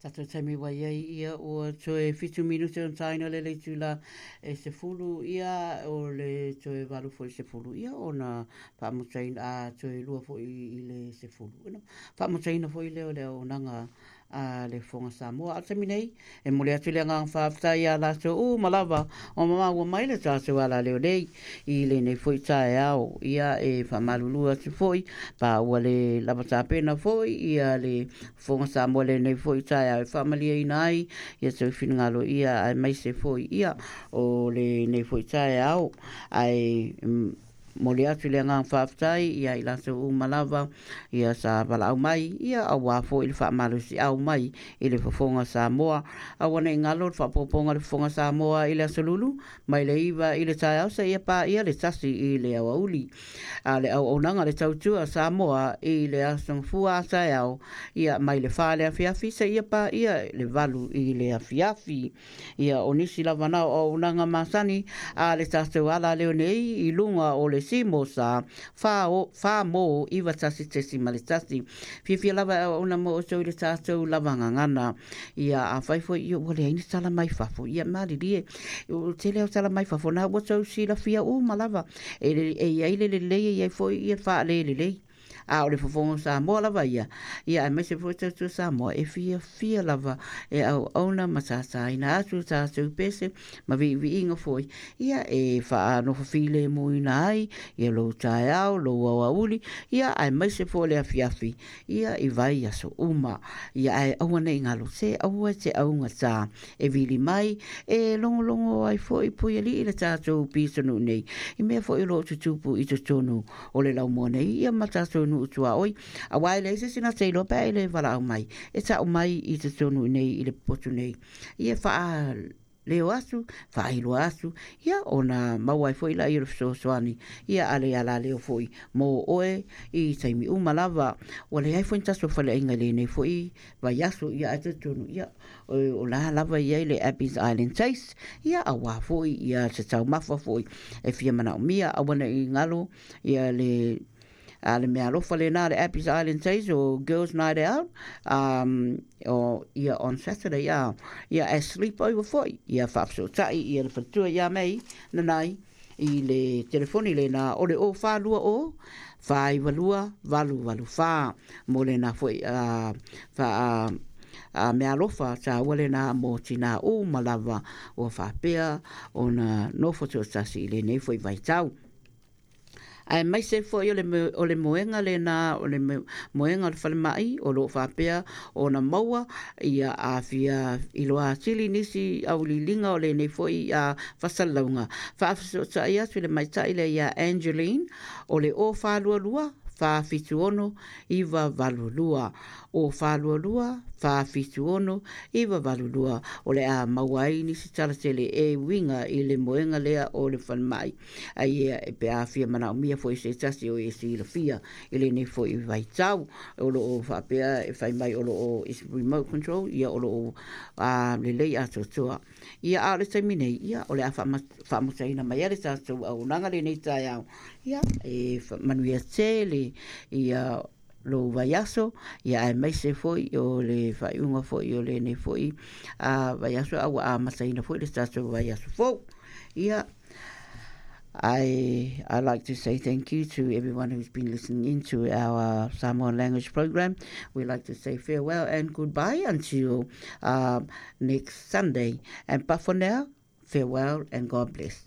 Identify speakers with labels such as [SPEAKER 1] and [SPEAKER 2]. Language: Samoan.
[SPEAKER 1] Tatou taimi ua i ai ia ua toe 7 minute ona taina le le itula e 10 ia o le toe 8 foi 10 ia ona faamutaina a toe 2 foi i le 10 ona faamutaina foi lea o le auaunaga a le Fofoga Samoa. A o le taimi nei, e momoli atu le agaga faafetai ia latou uma lava o maua mai le tatou alaleo nei i lenei foi taeao. Ia e faamalulu atu foi pa ua le lava tapena foi ia le Fofoga Samoa i lenei foi taeao e faamalieina ai ia tou finagalo ia aemaise foi ia o lenei foi taeao. Ae momoli atu le agaga faafetai ia i latou uma lava ia sa valaau mai ia aua foi le faamalosiau mai i le Fofoga Samoa. Aua ne i galo le faaopoopoga o le Fofoga Samoa i le Aso Lulu mai le 9 i le taeao seia paia le 1 i le aoauli. A le auaunaga le tautua Samoa i le Aso Gafua a taeao ia mai le 4 le afiafi seia paia le 8 i le afiafi. Ia o nisi lava na o auaunaga masani a le tatou alaleo nei i luga o le Simo sa 4 mo 91.1. Fiafia lava e auauna mo outou i le tatou lava gagana. Ia afai foi ia ua leai ni tala mai fafo, ia malilie. O tele o tala mai fafo na ua tou silafia uma lava. E, e i ai le lelei e i ai foi ia faalelelei. A o le Fofoga o Samoa lava ia, ia aemaise foi tautua Samoa e fiafia lava e auauna ma tātāina atu tatou pese ma viiviiga foi ia e faanofo filemuina ai ia lou taeao, lou aoauli, ia aemaise foi le afiafi ia i vai aso uma. Ia ae aua nei galo se aua e te augatā e vili mai e logologo ai foi puialii le tatou pitonuu nei i mea foi o loo tutupu i totonu o le laumua nei ia ma tatou nuu tuaoi auā e leai se isi na te iloa pe a e le valaau mai e ta'u mai i totonu nei i le potu nei ia faaleo atu faailoa atu ia ona maua ai foi laia o le fesoasoani ia a le alaleo foi mo oe i taimi uma lava. Ua leai foi ni tatou faleaiga i lenei foi vaiaso ia ae talitonu ia o la lava e i ai le Abbey's Island Taste ia auā foi ia se taumafa foi e fia manaomia. Aua ne i galo ia le a le mea alofa lena le Abbey's Island Taste o Girls Night Out o ia on Saturday ia ia e sleep over foi ia faafesootai ia le faletua ia Mei Nanai i le telefoni lena o le 0420 492 884 mo lena foi faa a mea alofa tāua lena mo tinā uma lava ua faapea ona nofo toatasi i lenei foi vaitau. Aemaise foi o le moega lena o le moega o le falemai o loo faapea ona maua ia a fia iloa atili nisi auiliiliga o lenei foi a fasalauga faafesootai atu i le maita'i lea ia Angeline o le 0422 476 982 0422 476 982 o le a maua ai nisi tala tele e uiga i le moega lea o le falemai ai ia e pe a fia manaomia foi se tasi o e silafia i lenei foi vaitau o loo faapea e fai mai o loo is remote control ia o loo lelei atoatoa ia. A o le taimi nei ia o le a faamutaina mai ai le tatou auaunaga lenei taeao ia e manuia tele ia lou vaiaso ia aemaise foi o le faaiuga foi o lenei foi vaiaso a ua amataina foi le tatou vaiaso fou ia. I'd like to say thank you to everyone who's been listening in to our Samoan language program. We'd like to say farewell and goodbye until next Sunday. And but for now, farewell and God bless.